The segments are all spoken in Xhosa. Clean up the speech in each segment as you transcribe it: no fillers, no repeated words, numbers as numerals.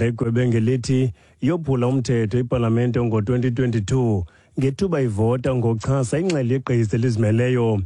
Egwebe ngelithi yophula umthetho ipalamente ngo-2022 ngethuba ivota ngokuchasa ingxelo yegqiza elizimeleyo.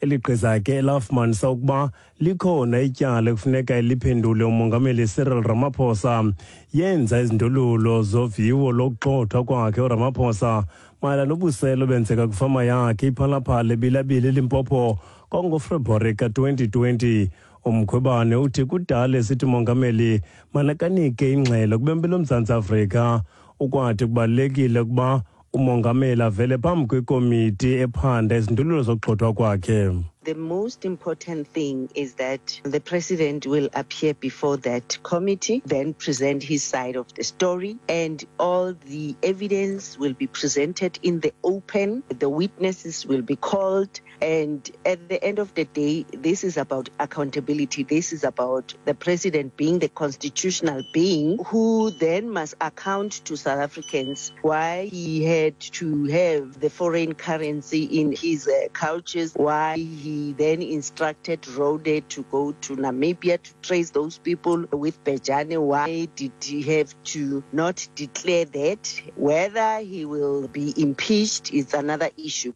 Eli gqiza ke lafumanisa ukuba likhona ityala ekufuneka liphendule umongameli Cyril Ramaphosa. Yenza izindululo zoviwo lokugxothwa kwakhe uRamaphosa mayelana nobusela obenzeka kwifama yakhe iPhalaphala eBilabili eLimpopo kwangofebruwari ka-2020. Umkhwebane uthi kudala esithi umongameli manakanike ingxelo kubembi loMzantsi Afrika. Ukwathi kubalulekile ukuba umongameli avele phambi kwekomiti ephanda izindululo zokugxothwa kwakhe. The most important thing is that the president will appear before that committee, then present his side of the story, and all the evidence will be presented in the open. The witnesses will be called, and at the end of the day, this is about accountability. This is about the president being the constitutional being who then must account to South Africans why he had to have the foreign currency in his couches, why he then instructed Rode to go to Namibia to trace those people with Bejane. Why did he have to not declare that? Whether he will be impeached is another issue.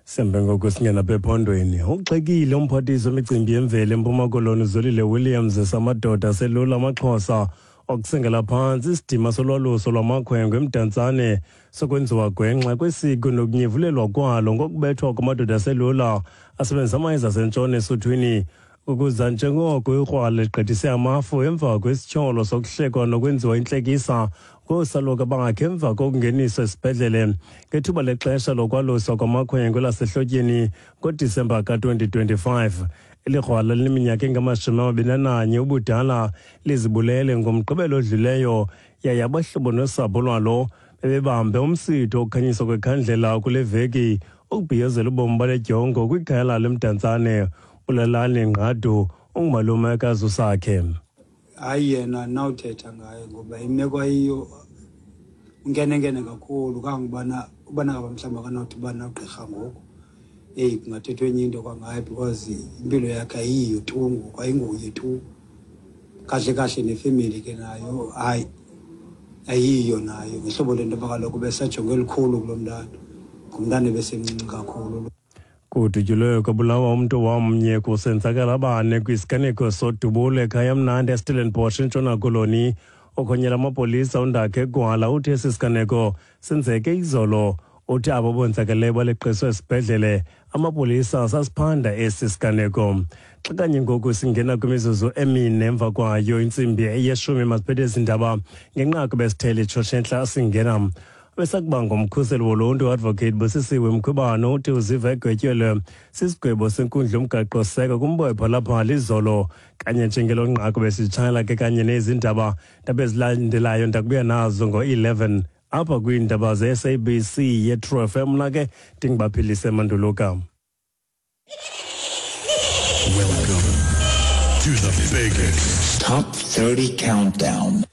Sembe ngoku singena apha ephondweni. Ugxekile umphathiswa wemicimbi yemveli eMpuma Koloni Zolile Williams samadoda aselula amaXhosa okusengela phantsi isidima solwaluso lwamakhwenkwe eMdantsane sokwenziwa gwenxa kwesiko nokunyevulelwa kwalo ngokubethwa kwamadoda aselula asebenzisa amayeza asentshona esuthwini ukuza njengoko ikrwala ligqithise amafu emva kwesityholo sokuhlekwa nokwenziwa intlekisa ngoosaluka bakhe emva kokungeniswa esibhedlele ngethuba lexesha lokwaluswa kwamakhwenkwe lasehlotyeni ngoDisemba ka-2025. Eli krwala lineminyaka engama-21 ubudala lizibulele ngomgqibelo odluleyo, yaye abahlobo nosapho lwalo bebebambe umsitho wokukhanyiswa kwekhandlela kule veki ukubhiyozela ubomi bale dyongo kwikhaya lalo eMdantsane. Ulalani Ngqadu ungumalume kaZusakhe. Hayi, yena nawuthetha ngaye ngoba imeko ayiyo unkenenkene kakhulu kangubana ubana ngaba mhlawumbi akanawuthi uba nogqirha ngoku, eyi, kungathethwa enye into kwangaye because impilo yakhe ayiyo tu ngoku, ayinguye tu kahle kahle. Nefemeli ke nayo hayi ayiyo nayo ngehlobo lento yoba kaloku besajonge elikhulu kulo mntana, ngumntana ebesemncinci kakhulu. Kudutyulwe kwabulawa umntu wamnye kusenzakala abane kwisiganeko sodubulo ekhaya mnandi eStellenbosch eNtshona Koloni. Okhonyela amapolisa uNdakhe Gwala uthi esi siganeko senzeke izolo. Uthi abo bonzakeleyo baleqiswe esibhedlele, amapolisa sasiphanda esi siganeko. Xa kanye ngoku singena kwimizuzu emine emva kwayo intsimbi eyeshumi, masiphethe ezi ndaba ngenqaku besithele itshotshentla singena. Besakuba ngumkhuseli woluntu Advocate Busisiwe Mkhwebane uthi uziva egwetyelwe sisigwebo senkundla yomgaqo-seko kumboepha lapha lizolo. Kanye njengelo nqaku besitshayela ke kanye nezi ndaba, ndaba ezilandelayo ndakubuya nazo ngo-11 apha kwiindaba ze-SABC ye-True FM. Mna ke ndingubaphilise Manduluka. Welcome to the biggest Top 30 Countdown.